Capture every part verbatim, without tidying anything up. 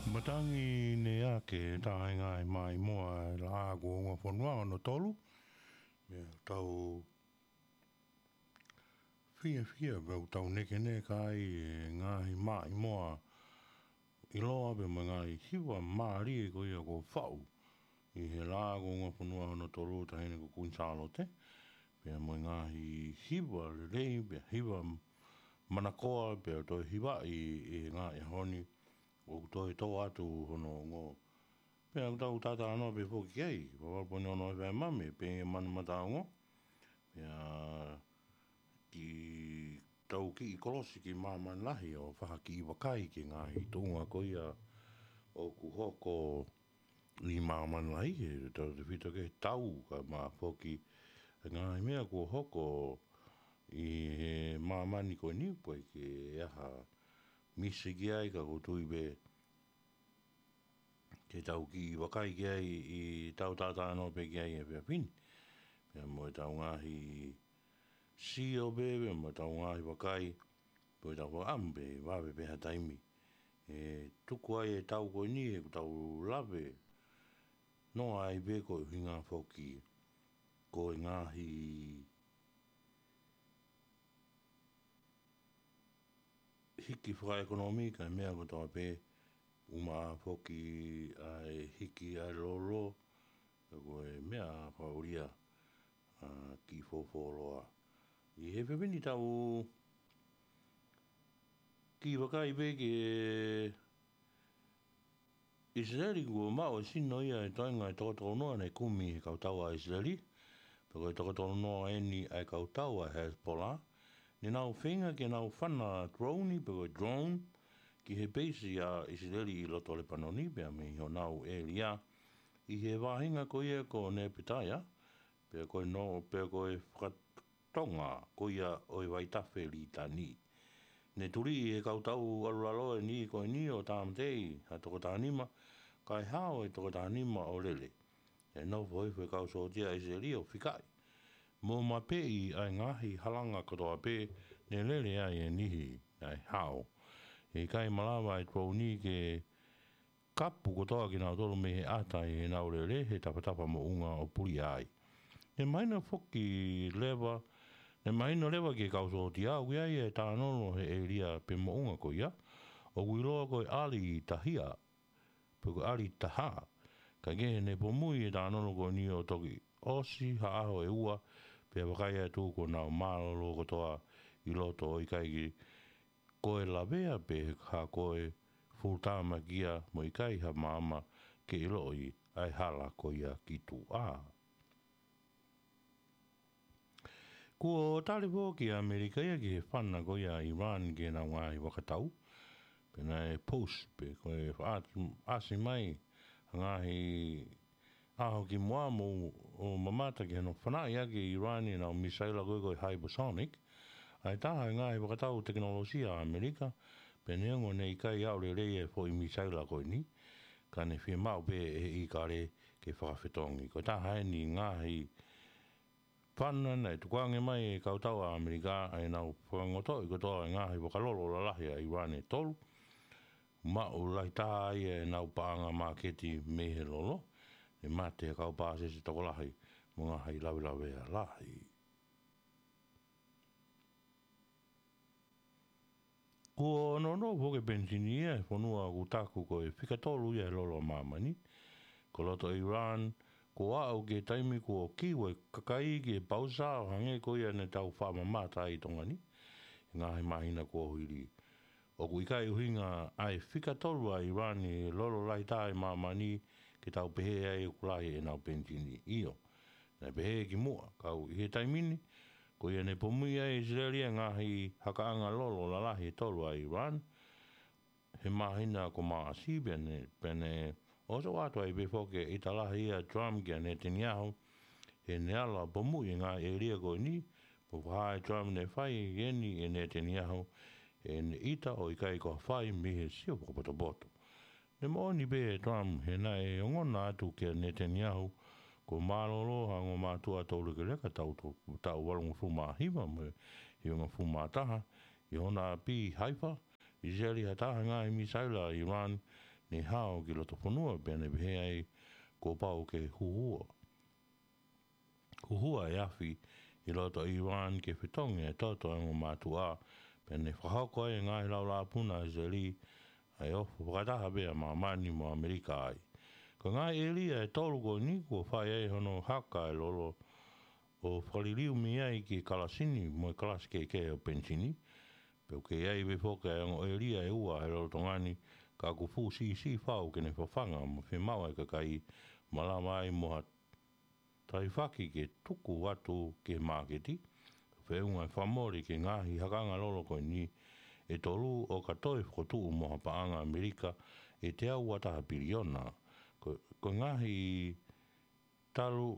Matangi ne ake taenga e maʻimoa e laʻā kuo ungafonua hono tolu. Meʻa tau fiefia pea ʻoku tau nekeneka ai e ngaahi maʻimoa ʻiloa pea mo e ngaahi hiva mālie ko ia kuo faʻu ʻi he laʻā kuo ungafonua hono tolu, Taʻahine ko Kuini Sālote. Pea mo e ngaahi hiva lelei, pea hiva manakoa, pea toe hivaʻi ʻi he ngaahi ʻaho ni ʻoku toe tō atu hono ongo. Pea ʻoku tau talanoa pē foki ki ai, valu poini ono F M, pē manu mata ongo. Pea kiʻi tau kiʻi kolosi ki māmani lahi ʻo fai ha kiʻi vakai ki he ngaahi tuʻunga ko ia ʻoku hoko ʻi māmani lahi, he tautefito ki he tau, kae ʻumaʻā foki e ngaahi meʻa kuo hoko ʻi he māmani ko eni, pe ʻoku ʻi ai ha misi ki ai, ka ʻoku ou tui pē ke tau kiʻi vakai ki ai ʻi heʻetau talanoa pē ki ai he efiafi ni. Pea mo ʻetau ngaahi sio pē, pea mo ʻetau ngaahi vakai, pea ʻetau fakaʻamu pē, vave pē ha taimi ʻe tuku ai e tau ko eni ʻoku tau lave noa ai pē, ko e ʻuhinga foki ko e ngaahi hiki fakaʻekonōmika e meʻa kotoa pē, ʻumaʻā foki ʻa e hiki ʻa e lolo, pea ko e meʻa fakaʻulia, ʻa, kiʻi fōfōloa. ʻI he efiafi ni tau kiʻi vakai pē ki he ʻIsileli. Kuo maʻu e sino ia e toenga ʻe toko tolunoa naʻe kumi he kautau ʻa ʻIsileli, pea ko e toko tolunoa eni ʻa e kautau ʻa Hezbollah, ne nau feinga ke nau fana drone, pe ko e drone, ki he peisi ʻa ʻIsileli ʻi loto Lepanoni, pea mei honau ʻēlia ʻi he vaʻinga ko ia ko Nepetaia, pea ko e no, pea ko e fakatonga ko ia ʻo e vaitafe Litani. Ne tuli ʻi he kautau ʻalulalo ʻe niʻihi ko eni ʻo tāmateʻi ha toko taha nima, kae hao e toko taha nima ʻo lele. ʻE nofo hifo e kau sōtia ʻa ʻIsileli ʻo fikaʻi mo mapeʻi ʻa e ngaahi halanga kotoa pē ne lele ai e niʻihi naʻe hao. ʻIkai malava e drone ke kapu kotoa kinautolu mei he ʻata ʻi heʻenau lele he tafatafa moʻunga ʻo pulia ai. Ne mahino foki leva, ne mahino leva ki he kau sōtia ʻoku ʻi ai e tānolo he ʻēlia pe moʻunga ko ia ʻoku ʻiloa ko e ʻAli Tahia, pe ko e ʻAli Taha. Kae kehe ne pomui e tānolo ko eni ʻo toki ʻosi ha ʻaho ʻe ua, pea vakai atu kuo nau mālōlō kotoa ʻi loto ʻo ʻikai ke ko e lavea pe ha ko e fuʻutāmaki ia mo ʻikai ha maama ke ʻiloʻi ʻa e hala ko ia ki tuʻa. Kuo tali foki ʻa ʻAmelika ia ki he fana ko ia ʻa ʻIran ki heʻenau ngaahi vakatau. Pea naʻe post pe ko e faʻa-, ʻasi mai ha ngaahi ʻaho kimuʻa mo ʻo mamata ki hono fanaʻi ʻaki ʻe ʻIran ʻenau misaila ko ē ko e hypersonic, ʻa e taha e ngaahi vakatau tekinolosia ʻa ʻAmelika, pea neongo ne ʻikai aʻu lelei e foʻi misaila ko eni, ka ne fiemaʻu pē ʻe he ʻīkale ke fakafetongi. Ko e taha eni e ngaahi fana naʻe tukuange mai ʻe he kautau ʻa ʻAmelika ʻa ʻenau fakangotoʻi kotoa e ngaahi vakalolo lalahi ʻa ʻIran ʻe tolu. Maʻu lahi taha ai ʻenau paʻanga māketi mei he lolo. Ne mate e kau pāsese tokolahi mo e ngaahi lavelavea lahi. Kuo nonofo foki e penisini ia he fonua ʻoku taku ko e fika tolu ia he lolo ʻa māmani. Ko loto ʻIran, kuo aʻu ki he taimi kuo kiu e kakai ki he pausa ʻo hangē ko ia ne tau faʻa mamata ai ʻi Tonga ni, he ngaahi māhina kuo hili. ʻOku ʻikai ʻuhinga ʻa e fika tolu ʻa ʻIran he lolo lahi taha ʻi māmani ke tau pehē ai ʻoku lahi ʻenau penisini. ʻIo, naʻe pehē kimuʻa, ka ʻi he taimi ni, ko ia ne pomui ai ʻe ʻIsileli e ngaahi hakaʻanga lolo lalahi ʻe tolu ʻa ʻIran he māhina ko Maʻasi, pea ne, pea ne ʻosi ʻoatu ai pē foki e ʻita lahi ʻa Trump kia Netanyahu, he ne ala pomuʻi e ngaahi ʻēlia ko eni, pea ko e hā ʻe Trump ne fai eni ʻe Netanyahu, he ne ʻita ʻo ʻikai ko ha fai mei he sio fakapotopoto. Ne moʻoni pē ʻe Trump, he naʻe ongona atu kia Netanyahu, kuo mālōlō ha ongo mātuʻa toulekeleka taʻu, taʻu valungofulu mā hiva mo e hivangofulu mā taha, ʻi hona ʻapi ʻi Haifa, ʻIsileli ha taha e ngaahi misaila ʻa ʻIran ne hao ki loto fonua, pea ne pehē ai kuo pau ke huhua. Huhua e afi ʻi loto ʻIran ke fetongi e toto ʻa e ongo mātuʻa, pea ne fakahoko ai e ngaahi laulāpuna ʻa ʻIsileli, ʻa e ofo fakataha pē ʻa māmani mo ʻAmelika ai. Ko e ngaahi ʻēlia ʻe tolu ko eni kuo fai ai hono haka e lolo ʻo fakaliliu mei ai ki he kalasi ni mo e kalasi kehekehe ʻo e penisini, pea ʻoku kei ʻi ai pē foki ʻa e ongo ʻēlia ʻe ua he lolotonga ni, ka ʻoku fuʻu siʻisiʻi fau ke ne fafanga mo fiemaʻu ʻa e kakai, malava ai mo ha taifaki ke tuku atu ki he māketi, feʻunga e fakamole ki he ngaahi hakanga lolo ko eni ʻe tolu ʻo ka toe fokotuʻu mo ha paʻanga ʻAmelika ʻe teau ua taha piliona. Ko, ko e ngaahi talu,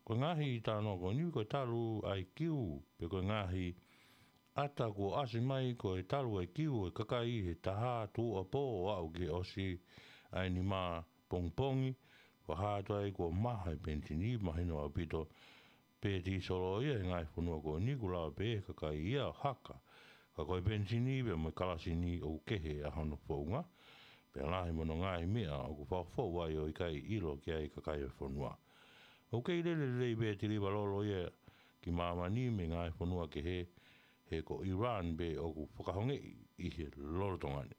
ko e ngaahi talanoa ko eni ko e talu ʻa e kiu, pe ko e ngaahi ʻata kuo ʻasi mai ko e talu ʻa e kiu ʻo e kakai he taha tuʻuapō ʻo aʻu ki he ʻosi ʻa e nima pongipongi, fakahā atu ai kuo maha e penisini, mahino ʻaupito pē tīsolo ia he ngaahi fonua ko eni, kuo lava pē ʻe he kakai ia ʻo haka. Ka ko e penisini pea mo e kalasi ni ʻoku kehe ʻa hono founga, pea lahi mo hono ngaahi meʻa ʻoku fakafoʻou ai ʻo ʻikai ʻilo ki ai e kakai ʻo e fonua. ʻOku kei lele lelei pē e tiliva lolo ia ki māmani mei he ngaahi fonua kehe, he ko ʻIran pē ʻoku fakahongeʻi ʻi he lolotonga ni.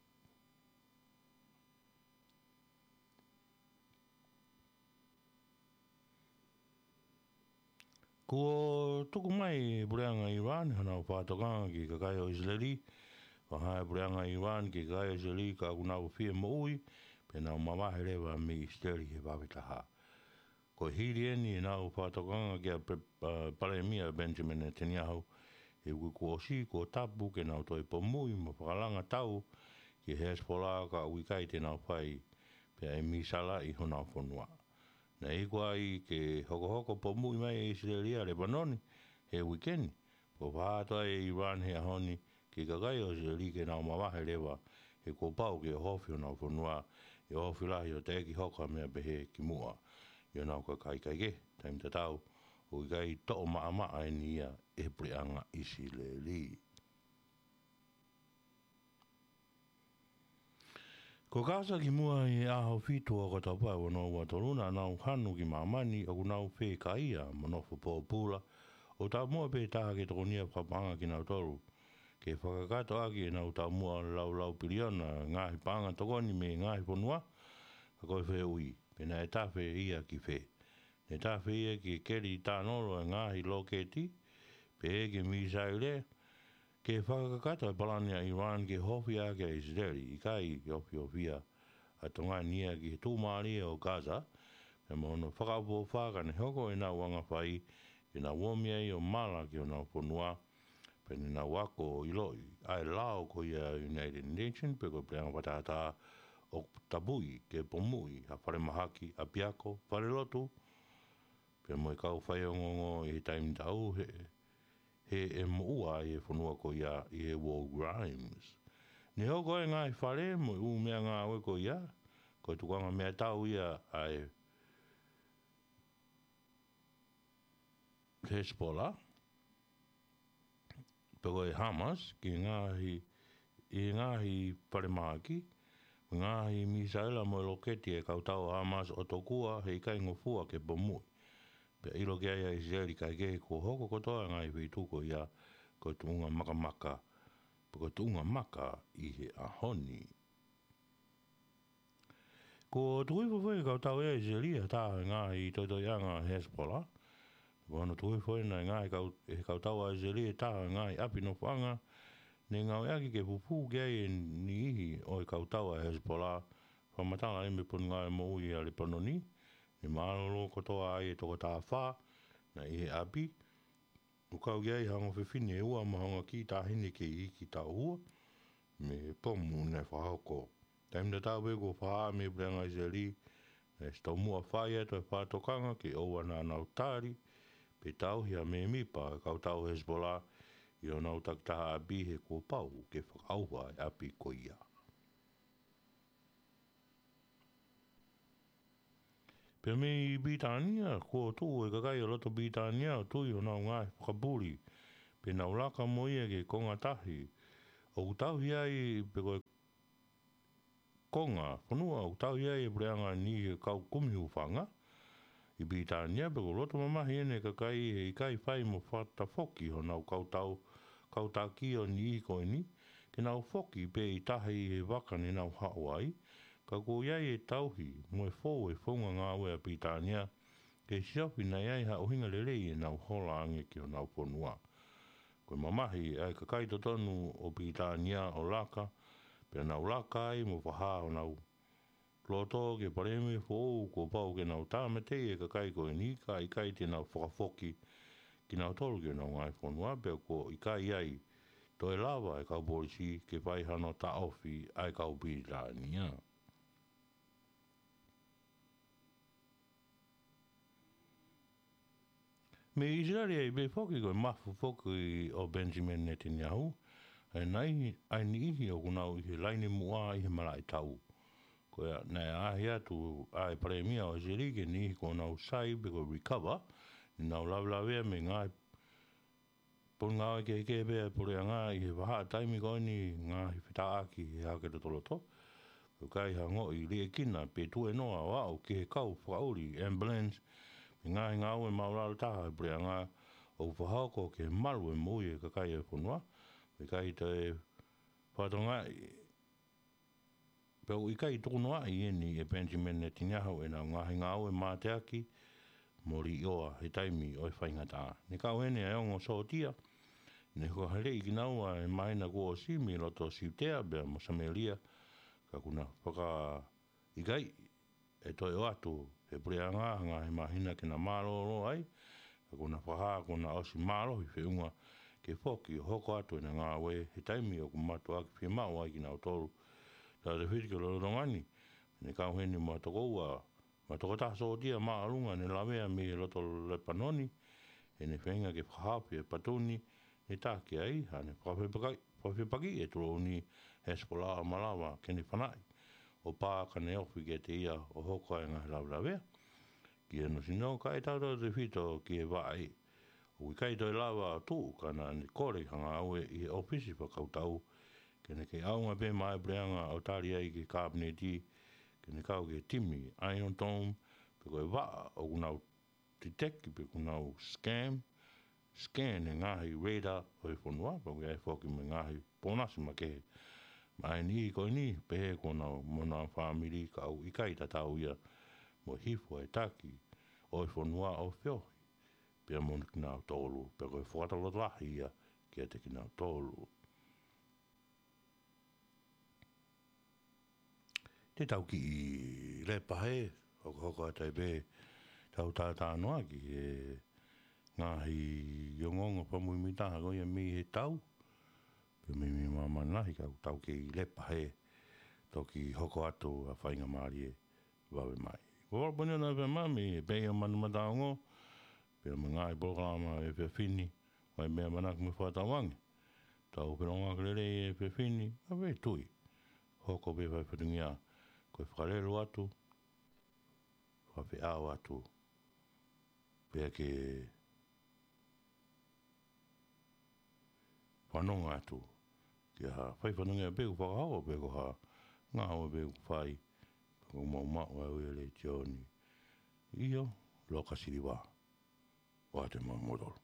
Kuo tuku mai ʻe he puleʻanga ʻIran honau fakatokanga ki he kakai ʻo ʻIsileli. Fakahā ʻe he puleʻanga ʻIran ki he kakai ʻo ʻIsileli ka ʻoku nau fie moʻui, pea nau mavahe leva mei ʻIsileli he vave taha. Ko e hili eni ʻenau fakatokanga kia Pre-, ʻa, Palēmia Benjamin Netanyahu, he uike kuo ʻosi kuo tapu ke nau toe pomuʻi mo fakalanga tau ki he Hezbollah ka ʻoku ʻikai te nau fai pē ʻa e mīsaila ʻi honau fonua. Naʻe iku ai ke hokohoko pomuʻi mai ʻe ʻIsileli ʻa Lepanoni he uike ni, pea fakahā atu ai ʻe ʻIran he ʻaho ni ki he kakai ʻo ʻIsileli ke nau mavahe leva, he kuo pau ke ʻohofi honau fonua, ʻi he ʻohofi lahi ʻo teʻeki hoko ha meʻa pehē kimuʻa ʻi honau kakai. Kaekehe, taimi tatau ʻoku ʻikai toʻo maʻamaʻa eni ia ʻe he puleʻanga ʻIsileli. Ko Gaza kimuʻa ʻi he ʻaho fitu ʻo ʻOkatopa ua noa ua tolu naʻa nau hanu ki māmani ʻoku nau fekaia mo nofo pōpula, ʻo taumuʻa pē taha ke tokonia fakapaʻanga kinautolu ke fakakakato ʻaki ʻenau taumuʻa laulau piliona ngaahi paʻanga tokoni mei he ngaahi fonua, ka ko e fehuʻi, pe naʻe tafe ia ki fē? Naʻe tafe ia ki he keli tānolo e ngaahi loketi, pe ki he mīsaile, ke fakakakato e palani ʻa ʻIran ke ʻohofi ʻaki ʻa ʻIsileli, ʻikai ke ʻohiohia ʻa Tonga ni ia ki he tuʻumālie ʻo Gaza, pea mo hono fakaʻofoʻofa ka ne hoko ʻenau anga fai, ke nau omi ai ʻo mala ki honau fonua, pea ne nau ako ʻo ʻiloʻi ʻa e lao ko ia ʻa e United Nations, pe ko e puleʻanga fakatātā ʻoku tapui ke pomuʻi ha falemahaki, ʻapiako, falelotu, pea mo e kau faiongoongo ʻi he taimi tatau he, he ʻe moʻua ai e fonua ko ia ʻi he war crimes. Ne hoko e ngaahi fale mo e ʻū meʻangāue ko ia, ko e tukuʻanga meʻatau ia ʻa e Hezbollah, pe ko e Hamas, ki he ngaahi, ʻi he ngaahi falemahaki, ngaahi mīsaila mo e loketi ʻa e kau tau ʻa Hamas ʻo tokua heʻikai ngofua ke pomuʻi. Pea ʻilo ki ai ʻa ʻIsileli kaekehe kuo hoko kotoa e ngaahi feituʻu ko ia ko e tuʻunga makamaka, pe ko e tuʻunga maka ʻi he ʻaho ni. Kuo tuku hifo foki ʻe he kau tau ʻa ʻIsileli ʻa e taha e ngaahi toitoiʻanga ʻa Hezbollah. Ko hono tuku hifo ʻena e ngaahi kau, ʻe he kau tau ʻa ʻIsileli e taha e ngaahi ʻapi nofoʻanga, ne ngāueʻaki ke fufū ki ai e niʻihi ʻo e kau tau ʻa Hezbollah, fakamatala ai mei he Potungāue Moʻui ʻa Lepanoni, ne mālōlō kotoa ai e toko taha fā naʻe ʻi he ʻapi, ʻo kau ki ai ha ongo fefine ʻe ua mo ha ongo kiʻi taʻahine kei iiki taʻu ua, mei he pomu naʻe fakahoko. Taimi tatau pē kuo fakahā mei he puleʻanga ʻIsileli, naʻe ʻosi taumuʻa fai atu e fakatokanga ke ʻoua naʻa nau tali, pe tauhi ha mēmipa ʻo e kau tau Hezbollah, ʻi honau takitaha ʻapi he kuo pau ke fakaʻauha e ʻapi ko ia. Pea mei Pilitānia, kuo tuʻu e kakai ʻo loto Pilitānia ʻo tui honau ngaahi fakapuli, pea nau laka mo ia ki he konga tahi ʻoku tauhi ai pe ko e konga fonua ʻoku tauhi ai e puleʻanga ni he kau kumi hūfanga ʻi Pilitānia, pea ʻoku loto mamahi ʻene kakai he ʻikai fai mo fakatafoki honau kau tau, kau taki ʻo e niʻihi ko eni, ke nau foki pē ʻi tahi he vaka ne nau haʻu ai, ka kuo ʻi ai e tauhi mo e fou e founga ngāue ʻa Pilitānia, ke siofi naʻe ʻi ai ha ʻuhinga lelei ʻenau hola ange ki honau fonua. Ko e mamahi ʻa e kakai totonu ʻo Pilitānia ʻo laka, pea nau laka ai mo fakahā honau loto ki he palēmia foʻou kuo pau ke nau tāmateʻi e kakai ko eni, ka ʻikai te nau fakafoki kinautolu ki honau ngaahi fonua, pea kuo ʻikai ai toe lava e kau polisi ke fai hano taʻofi ʻa e kau Pilitānia. Mei ʻIsileli ai pē foki ko e mafu foki ʻo Benjamin Netanyahu, ʻa e nai, ʻa e niʻihi ʻoku nau ʻi he laine muʻa ʻi he malaʻe tau. Ko ia, naʻe ʻaʻahi atu ʻa e palēmia ʻo ʻIsileli ki he niʻihi kuo nau sai pe ko e recover, ne nau lavelavea mei he ngaahi potungāue kehekehe pē ʻa e puleʻanga ʻi he vahaʻa taimi ko eni ngaahi fetāʻaki he hake lotoloto. Ko e ʻikai ha ongoʻi liʻekina pe tuēnoa ʻo aʻu ki he kau fakaʻuli ambulance mei he ngaahi ngāue māʻulalo taha ʻa e puleʻanga ʻoku fakahoko ke malu e moʻui e kakai ʻo e fonua. Pea ʻikai toe fakatokangaʻi pe ʻoku ʻikai tukunoaʻi eni ʻe Benjamin Netanyahu ʻenau ngaahi ngāue mateaki mo liʻoa he taimi ʻo e faingataʻa. Ne kau heni ʻa e ongo sōtia, ne fakaheleʻi kinaua he māhina kuo ʻosi mei loto Siutea pea mo Samēlia, ka kuo na fakaʻikaiʻi ʻe toe ʻoatu ʻe he puleʻanga ha ngaahi māhina ke na mālōlō ai, ka kuo na fakahā kuo na ʻosi mālohi feʻunga ke foki ʻo hoko atu ʻena ngāue he taimi ʻoku mātuʻaki fiemaʻu ai kinautolu. Tautefito ki he lolotonga ni, ne kau heni mo ha toko ua, mo ha toko taha sōtia māʻolunga ne lavea mei he loto Lepanoni, ʻene feinga ke fakahaofi e patu ni, ne taki ai, ʻa ʻene fakafepakiʻi, fakafepakiʻi e tulou ni Hezbollah ʻo malava ke ne fanaʻi ʻo pā ka ne ofi kiate ia ʻo hoko ai e ngaahi lavelavea. Ki hono sino, ka ʻe tautautefito ki he vaʻe, ʻoku ʻikai toe lava ʻo tuʻu ka naʻa ne kole ha ngāue ʻi he ʻōfisi fakakautau, ke ne kei ʻaonga pē maʻa e puleʻanga ʻo tali ai ki he kāpeneti, ke ne kau ki he timi Iron Dome, pe ko e vaʻa ʻoku nau detect pe ʻoku nau scam, scan e ngaahi radar ʻo e fonua, pea ʻoku ʻi ai foki mo e ngaahi pōnasi makehe maʻa e niʻihi ko eni, pehē ki honau, mo honau fāmili, ka ʻoku ʻikai tatau ia mo e hifo e taki ʻo e fonua ʻo feohi pea mo kinautolu, pea ko e fakalotolahi ia kiate kinautolu. Te tau kiʻi lepa hē, hokohoko atu ai pē ʻetau talanoa ki he ngaahi ongoongo fakamuimuitaha ko ia mei he tau, pea mei, mei he māmani lahi, ka tau kiʻi lepa hē, toki hoko atu ʻa e faingamālie vave mai. Ko Valaponi ʻo Nāvema mei he Pei ʻo Manumataongo, pea mo e ngaahi polokalama ʻo e efiafi ni, ʻoku ʻi ai e meʻa ʻamanaki mo e fakatauange. Tau felongoaki lelei he efiafi ni, ʻa e tui. Hoko pē fai fatongia, ko e fakalelu atu, fakafeʻao atu, pea ke fanongo atu ki ha fai fatongia pe ʻoku fakahoko pe ko ha ngāue pe ʻoku fai, pea ʻoku mau maʻu ʻa e ʻū letiō ni. ʻIo, Loka Siliva, ʻoatu e mau motolo.